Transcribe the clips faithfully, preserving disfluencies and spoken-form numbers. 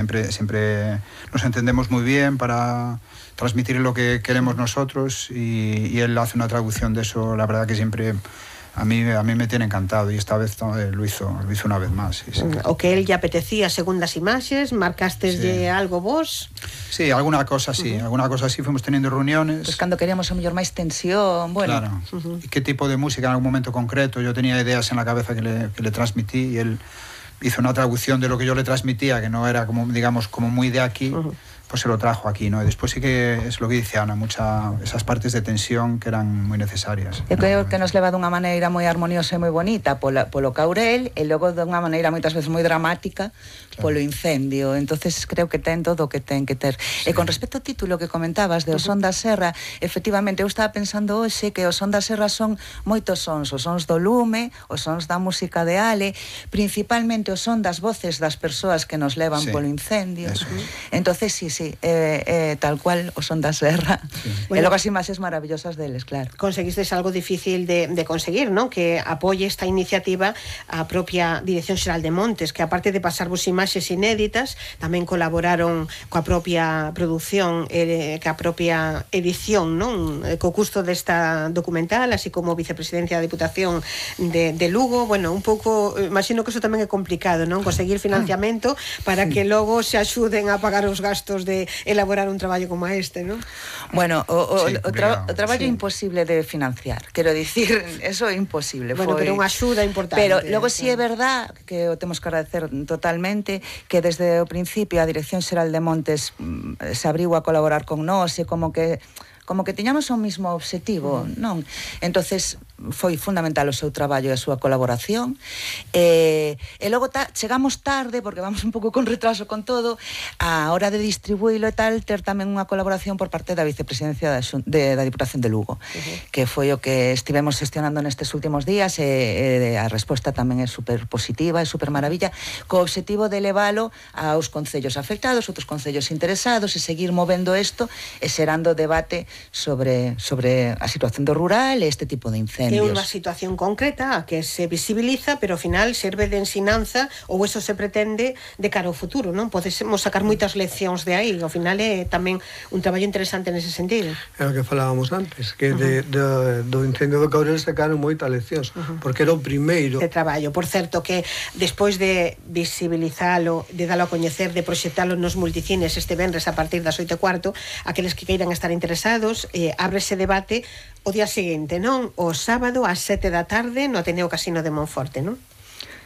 Siempre, siempre nos entendemos muy bien para transmitir lo que queremos nosotros y, y él hace una traducción de eso, la verdad que siempre a mí, a mí me tiene encantado y esta vez eh, lo, hizo, lo hizo una vez más. Sí, sí. O que él lle apetecía segundas imaxes, marcasteslle sí. algo vos? Sí, alguna cosa sí, uh-huh. alguna cosa sí, fuimos teniendo reuniones. Pues cando queríamos a mellor máis tensión, bueno. Claro, uh-huh. y qué tipo de música en algún momento concreto, yo tenía ideas en la cabeza que le, que le transmití y él hizo una traducción de lo que yo le transmitía, que no era como, digamos, como muy de aquí, uh-huh. pues se lo trajo aquí, ¿no? Y después sí que es lo que dice Ana, mucha, esas partes de tensión que eran muy necesarias. Eu creo que nos leva dunha maneira moi armoniosa e moi bonita polo, polo Caurel e logo dunha maneira moitas veces moi dramática claro. polo incendio, entonces creo que ten todo o que ten que ter. Sí. E con respecto ao título que comentabas de O Son da Serra, efectivamente eu estaba pensando hoxe que O Son da Serra son moitos sons, os sons do lume, os sons da música de Ale, principalmente o son das voces das persoas que nos levan sí. polo incendio. Eso. Entonces sí, sí, eh, eh, tal cual O Son da Serra. Sí. Bueno, e logo as imaxes maravillosas deles, claro. Conseguistes algo difícil de, de conseguir, ¿no? Que apoie esta iniciativa a propia Dirección Xeral de Montes, que aparte de pasarvos imaxes inéditas, tamén colaboraron coa propia produción, eh, coa propia edición, non? Co custo desta documental, así como vicepresidencia da Diputación de, de Lugo. Bueno, un pouco, imagino que eso tamén é complicado, non? Conseguir financiamento para que logo se axuden a pagar os gastos de elaborar un traballo como este, ¿no? Bueno, o, o, sí, o, tra o traballo sí. imposible de financiar, quero dicir, eso é imposible. Bueno, foi... pero unha axuda importante. Pero logo si sí é verdad que o temos que agradecer totalmente, que desde o principio a Dirección Xeral de Montes mm, se abriu a colaborar con nós e como que como que tiñamos o mismo objetivo, uh-huh. non? Entonces foi fundamental o seu traballo e a súa colaboración e, e logo ta, chegamos tarde porque vamos un pouco con retraso con todo a hora de distribuílo e tal, ter tamén unha colaboración por parte da vicepresidencia da, de, da Diputación de Lugo, uh-huh. que foi o que estivemos gestionando nestes últimos días e, e a resposta tamén é super positiva e super maravilla, co objetivo de leválo aos concellos afectados, outros concellos interesados e seguir movendo isto e xerando debate sobre, sobre a situación do rural e este tipo de incendios. É unha situación concreta que se visibiliza, pero ao final serve de ensinanza ou eso se pretende de cara ao futuro, non? Podemos sacar moitas leccións de aí, ao final é tamén un traballo interesante nese sentido. É o que falábamos antes, que de, de, do incendio do Caurel sacaron moitas leccións, uh-huh. porque era o primeiro de traballo. Por certo, que despois de visibilizalo, de dalo a coñecer, de proxectalo nos multicines este venres a partir das oito e cuarto, aqueles que queiran estar interesados, Eh, abre ese debate o día seguinte, non? O sábado ás sete da tarde no Ateneo Casino de Monforte, non?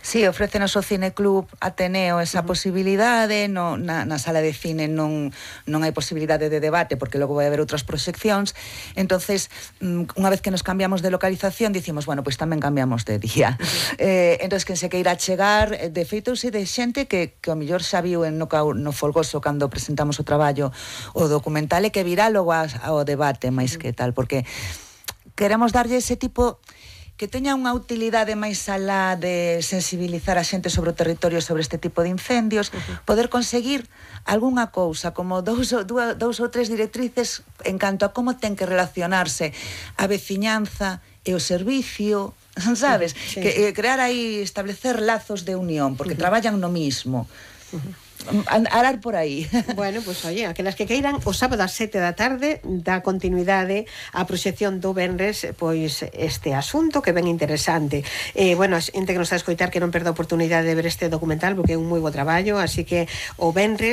Sí, ofrécenos o Cineclub Ateneo esa uh-huh. posibilidade, no, na, na sala de cine non, non hai posibilidade de debate porque logo vai haber outras proxeccións, entonces unha vez que nos cambiamos de localización dicimos, bueno, pois pues tamén cambiamos de día. Uh-huh. Eh, entonces quen se queira chegar, de feito se de xente que, que o mellor xa viu en no, no Folgoso cando presentamos o traballo o documental e que virá logo ao debate máis uh-huh. que tal, porque queremos darlle ese tipo que teña unha utilidade máis alá de sensibilizar a xente sobre o territorio sobre este tipo de incendios, uh-huh. poder conseguir algunha cousa, como dous, dous, dous ou tres directrices en canto a como ten que relacionarse a veciñanza e o servicio, sabes? Sí, sí. Que eh, crear aí, establecer lazos de unión, porque uh-huh. traballan no mismo. Uh-huh. Arar por aí. Bueno, pois, pues, oye, aquelas que queiran, o sábado ás sete da tarde dá continuidade á proxección do venres, pois, este asunto que ben interesante. Eh, bueno, a xente que nos está a escoitar que non perda a oportunidade de ver este documental porque é un moi bo traballo, así que o venres